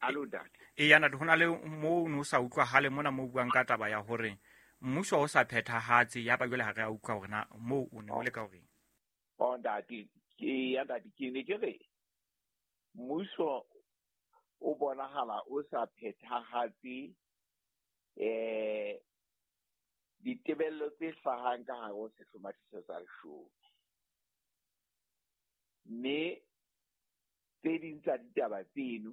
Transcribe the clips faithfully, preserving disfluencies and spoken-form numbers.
Alo ntate. E ya ntate, ho na le moo o no sa utlwahale mona mo buang ka taba ya hore mmuso o sa phethahatse, ya ba jwale ha re a utlwa hore na moo o ne o le ka horeng. Oh ntate, ke ya ntate, ke ne ke re mmuso o bonahala o sa phethahatse eh ditebello tse hlahang ka hare ho sehlomathiso sa leshome. Mme tse ding tsa ditaba tseno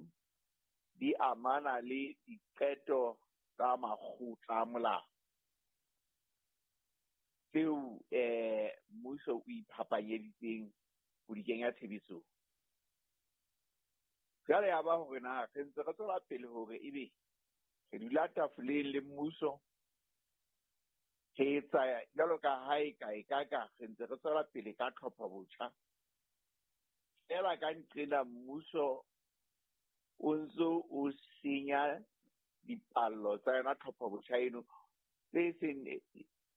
di amana le diqeto tsa makgotla a molao tseo eh mmuso o iphapanyeditseng ho di kenya tshebetsong. Jwale ya ba hore na re ntse re tswela pele hore ebe re dula tafoleng le mmuso, re etsa jwalo ka ha e ka e ka ka re ntse re tswela pele ka tlhopho botjha. Feela ka nqena mmuso o ntso o senya dipallo tsa yona tlhopho botjha eno tse seng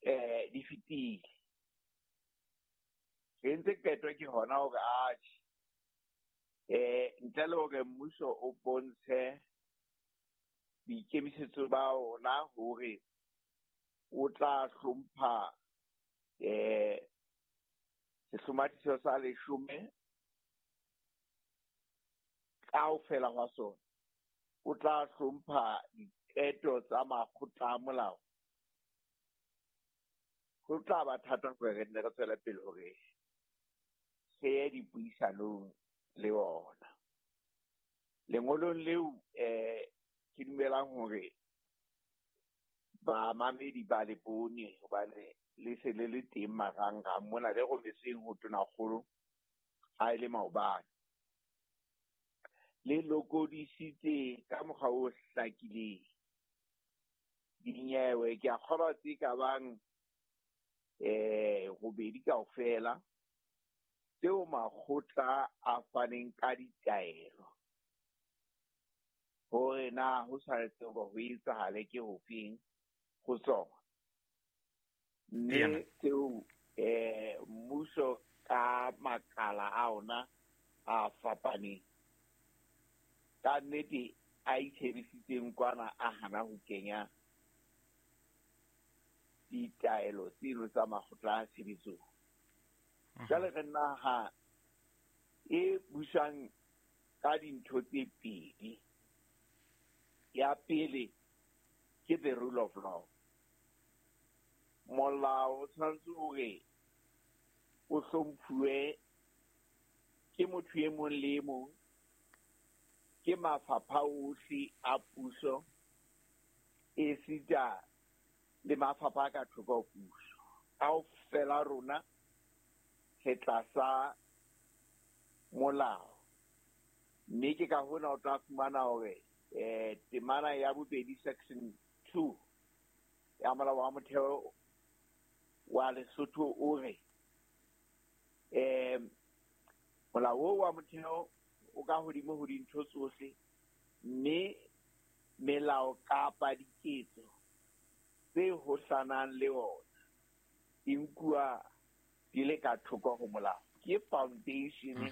eh di fetile. Re entse qeto ke hona hore atjhe eh ntle le hore mmuso o bontshe boikemisetso ba ona hore o tla hlompha eh sehlomathiso sa leshome kaofela hwa sona, o tla hlompha diqeto tsa makgotla a molao, ho tla ba thata hore re nne re tswele pele hore re ye dipuisanong le ona. Lengolong leo eh ke dumelang hore bamamedi ba le bone hobane le se le le teng marangrang mona le rometsweng ho Tonakgolo ha e le maobane. Le lokodisitse ka mokgwa o hlakileng dinyewe, ke a kgolwa tse ka bang eh robedi kaofela tseo makgotla a faneng ka ditaelo hore na ho tshwanetse hore ho etsahale ke hofeng ho tsona. Mme tseo eh mmuso ka makala a ona a fapaneng ka nnete a itshebisitseng kwana a hana ho kenya ditaelo tseno tsa makgotla a tshebetsong. Jwale re naha e busang ka dintho tse pedi. Ya pele ke the rule of law. Molao o tshwanetse hore o hlomphuwe ke motho e mong le e mong, ke mafapha ohle a puso, esita le mafapha a ka thoko ho puso. Kaofela rona re tlasa molao. Mme ke ka hona o tla fumana hore eh temana ya bobedi section two ya molao wa motheo wa Lesotho o re eh molao oo wa motheo o ka hodimo ho dintho tsohle, mme melao kapa diketso tse hohlanang le ona di nkuwa di le ka thoko ho molao. Ke foundation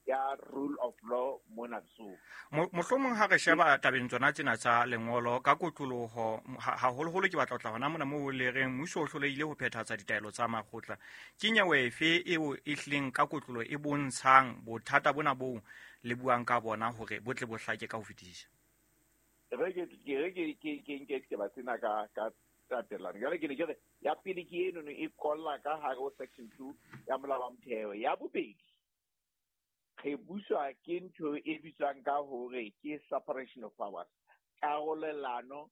ya rule of law mona Lesotho. Mohlomong ha re sheba tabeng tsona tsena tsa lengolo ka kotloloho, haholoholo ke batla ho tla hona mona moo le reng mmuso o hlolehile ho phethahatsa ditaelo tsa makgotla. Ke nyewe efe eo e hlileng ka kotlolo e bontshang bothata bona boo le buang ka bona hore bo tle bo hlake ka ho fetisisa? Re ke ke re ke ke ke nke ditaba tsena ka ka tatelano. Jwale ke ne ke re ya pele ke eno e kolla ka hare ho section two ya molao wa motheo. Ya bobedi, re buswa ke ntho e bitswang ka hore ke separation of powers, karolelano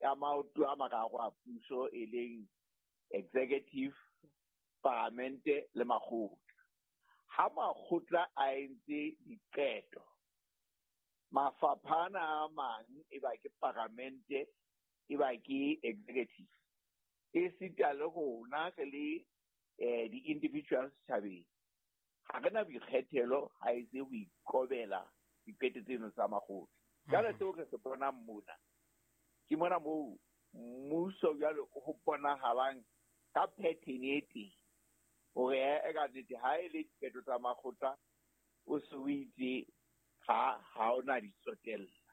ya maoto a mararo a puso e leng executive, paramente le makgotla. Ha makgotla a entse diqeto, mafapha ana a mang e ba ke paramente, e ba ke executive, esita le rona re le eh di-individuals setjhabeng, ha re na boikgethelo ha e se ho ikobela diqeto tseno tsa makgotla. Jwale seo re se bonang mona ke mona moo mmuso jwale ho bonahalang ka pattern e teng hore e ka nnete ha e le diqeto tsa makgotla o se o itse ha ha ona di tsotella.